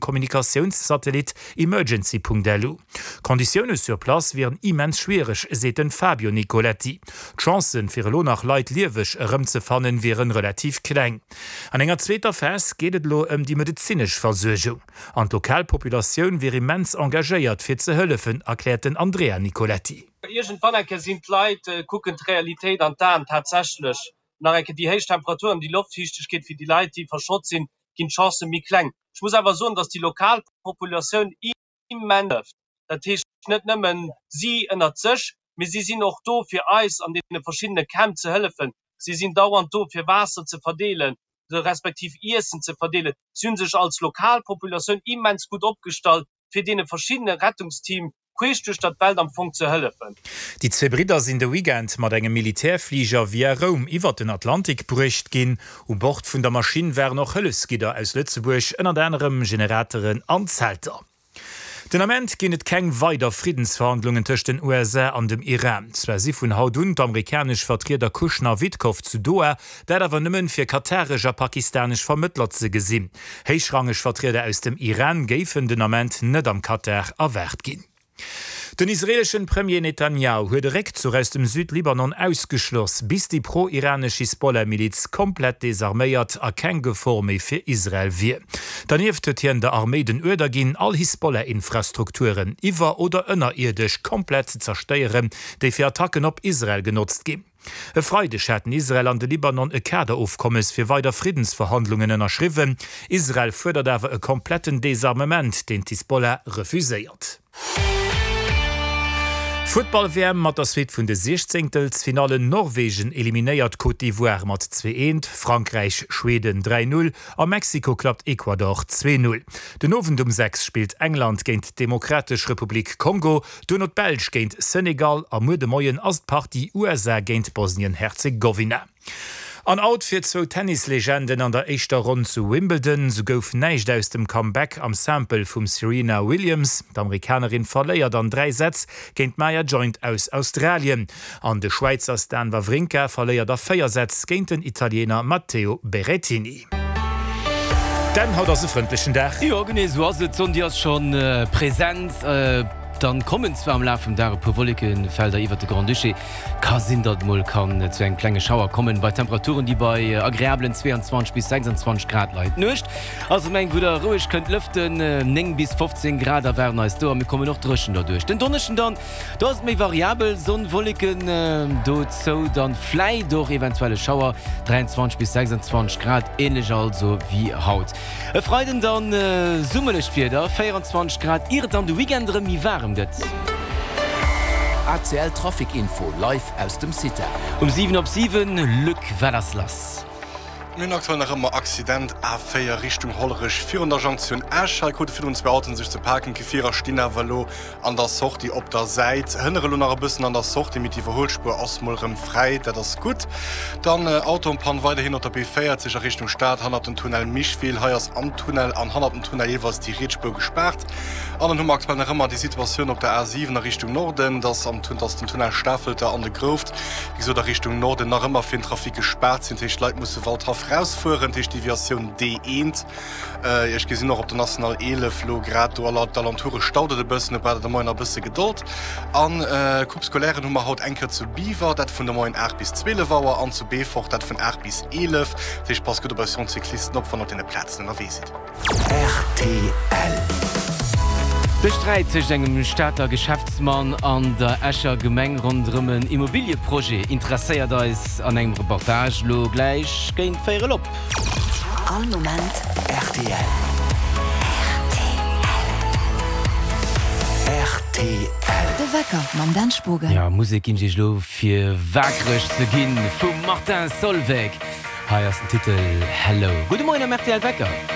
Kommunikatiounssatellit Emergency.lu. D'Konditioune sur place wieren immens schwiereg, seet den Fabio Nicoletti. D'Chancen, fir elo nach Leit lieweg erëmzefannen, wieren relativ kleng. An enger zweeter Phas geet et elo ëm déi medezinesch Versuergung. An d'lokal Populatioun wier immens engagéiert, fir ze hëllefen, erkläert den Andrea Nicoletti. Iergendwann eng Kéier sinn d'Leit, kucken d'Realitéit an d'Aen. Tatsächlech nach eng Kéier déi héich Temperaturen, déi Loftfiichtegkeet, fir déi Leit, déi verschott sinn, ginn d'Chancë méi kleng. Ech muss awer soen, datt déi lokal Populatioun immens hëlleft. Dat heescht net nëmmen si ënnert sech, mee si sinn och do fir eis an deene verschiddene Camp ze hëllefen. Si sinn dauernd do fir Waasser ze verdeelen, respektiv Iessen ze verdeelen. Si hu sech als lokal Populatioun immens gutt opgestallt fir deene verschiddene Rettungsteam queesch duerch der d'Welt am Fong ze hëllefen. Déi zwee Bridder sinn de Weekend mat engem Militärfliger via Roum iwwert den Atlantik bruecht ginn. U Bord vun der Maschinn waren och Hëllefsgidder aus Lëtzebuerg, ënnert anerem Generateren an Zelter. Den Ament ginn et keng weider Friddensverhandlungen tëscht den USA an dem Iran. Zwar si vun haut un d'amerikanesch Vertrieder Kushner a Witkoff zu Doha, dat awer nëmmen fir kataresch a pakistanesch Vermëttler ze gesinn. Héichrangeg Vertrieder aus dem Iran géifen den Ament net am Katar erwaart ginn. Den israeeleschen Premier Netanjahu huet e Réckzuch aus dem Südlibanon ausgeschloss, bis déi pro-iranesch Hisbollah-Miliz komplett desarméiert a keng Gefor méi fir Israel wier. Dernieft huet hien der Arméi den Uerder ginn, all Hisbollah-Infrastrukturen, iwwer oder ënnerierdesch, komplett ze zerstéieren, déi fir Attacken op Israel genotzt ginn. E Freideg haten Israel an de Libanon e Kaderofkommes fir weider Friddensverhandlungen ënnerschriwwen. Israel fuerdert awer e kompletten Desarmement, deen d'Hisbollah refuséiert. Futtball-WM mat der Suite vun de Siechzéngtelsfinallen, Norwegen eliminéiert Côte d'Ivoire mat 2, 1, Frankräich Schweden 3, 0 a Mexiko klappt Ecuador 2, 0. Den Owend um 6 spillt England géint d'Demokratesch Republik Kongo, Duerno d'Belsch géint Senegal a muer de Moien ass d'Partie USA géint Bosnien-Herzegowina. An out fir zwou Tennislegenden an der éischter Ronn zu Wimbledon. Sou gouf näischt aus dem Comeback am Simple vum Serena Williams. D'Amerikanerin verléiert an 3 Sätz géint d'Maya Joint aus Australien. An de Schwäizer Stan Wawrinka verléiert a 4 Sätz géint den Italiener Matteo Berrettini. Dan, haut ass e frëndlechen Dag. Jo, genee esou ass et. D'Sonn, déi ass scho present. Dann kommen zwar am Laf vum Dag e puer Wollekefelder iwwert de Grand-Duché. Ka sinn, datt et mol kann zu engem klenge Schauer kommen, bei Temperaturen, déi bei agreablen 22 bis 26 Grad leien. D'Nuecht ass erëm eng, wou der roueg kënnt lëften, 9 bis 15 Grad erwaarden eis do a mir kommen och dréchen derduerch. Den Donneschden dann, do ass et méi variabel, Sonn, Wolleken, dozou dann vläit och eventuell e Schauer, 23 bis 26 Grad, änlech also wéi haut. E Freiden dann summerlecht Wieder, 24 Grad, ier et dann de Weekend erëm méi waarem gëtt. ACL Trafic Info live aus dem CITA. Um 7 op 7, Luc, wat ass lass? Mir hunn aktuell nach ëmmer Accident A4 Richtung Hollerech virun der Jonktioun Esch. Hei krute virdrun zwou Autoen sech ze paken. D'Gefierer stinn awer elo an der Sortie op der Säit. Hënnere elo nach e bëssen an der Sortie, mee d'Iwwerhuelspuer ass mol rëm fräi, dat ass gutt. Dann Auto en panne weiderhin op der B40 a Richtung Stad hannert dem Tunnel Micheville. Hei ass am Tunnel an hannert dem Tunnel jeeweils déi riets Spuer gespaart. An dann hu mer aktuell nach ëmmer déi Situatioun op der A7 a Richtung Norden, dass am dass den Tunnel Stafelter an de Grouft, wéi gesot a Richtung Norden, nach ëmmer fir den Trafic gespaart sinn. Dat heescht, d'Leit musse Waldhaff rausfueren, dat heescht Deviatioun D1. Ech gesinn och op der National 11 lo grad do all d'Alentoure staut et e bëssen, do braucht der de Moien nach e bësse Gedold. An Coupe Scolairen hu mer haut eng Kéier zu Biwer, dat vun de Moien 8 bis 12 Auer, an zu Beefort, dat vun 8 bis 11. Dat heescht, passt gutt op eis jonk Cyclisten op, wann der op deene Plazen ënnerwee sidd. Rtl. De Sträit tëscht engem Stater Geschäftsmann an der Escher Gemeng ronderëm en Immobilieprojet interesséiert eis an engem Reportage lo gläich géint véierel op. All Moment rtl. Rtl. De Wecker mam Dan Spogen. Jo, Musek ginn ech iech elo fir waakreg ze ginn vum Martin Solveig. Hei ass den Titel Hello. Gudde Moien am rtl Wecker.